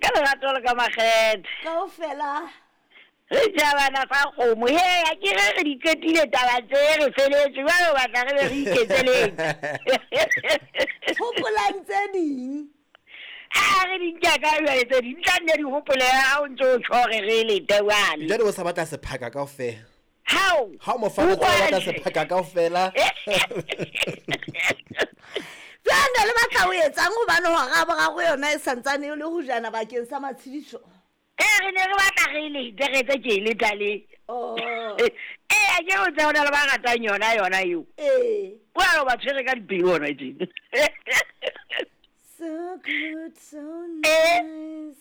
Ka lerato le ka makgethe. Kaofela. Re jabana sa kgomo. He, a ke re re di qetile taba tse re feletse. Jwale o batla re be re iketseletse. Hopolang tse ding. A re di nka ka jwale tse ding. Tla nne di hopole ha o ntse o tjho re re lete jwale. Jwale o sa batla sephaka kaofela. Hao. Ha o mo fa o batla sephaka kaofela. Jwale le batla ho etsang hobane hora ya boraro yona e santsane e le hojana bakeng sa matshediso? Ee, re ne re batla re lete re etse tje le tale. Oh. Ee, a ke o tse ho na le ba ratang yona yona eo. Ee. O a ba tshwere ka dipelo hona tjena. So good, so Eh. nice.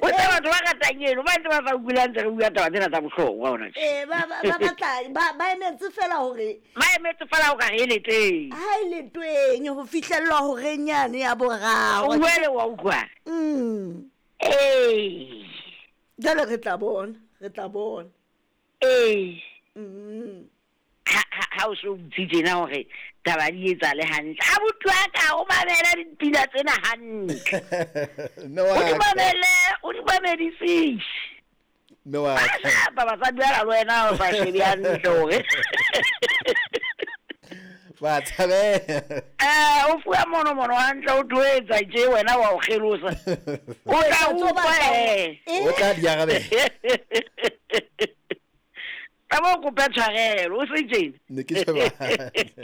O tse batho ba ratang eno ba ntse ba sa utlwile ntse re bua taba tsena tsa bohlokwa hona tje. Eh, ba ba ba batla ba ba emetse fela hore Ba emetse fela o ka re e leteng. ha e le tweng ho fihlellwa horeng yane ya boraro. O buele wa utlwa. Ee. Jwale re tla bona, re tla bona. Ee. Mm. Ha o so botse tjena hore taba di etsale hantle. Abuti wa ka o mamela dipina tsena hantle. Mme wa O di ka. mamele, o di mamedisise. Mme wa ka. Ba basadi ba le wena o sa shebe hantle hore. Ba tshabeha. Eh, o fuwa mono mono hantle o tlo etsa tje wena wa o kgelosa. O tla Etsa tso utlwa batlang. eh. O tla di arabela. Tla bo kope tshwarelo, o se tjena. Ne ke sheba hantle.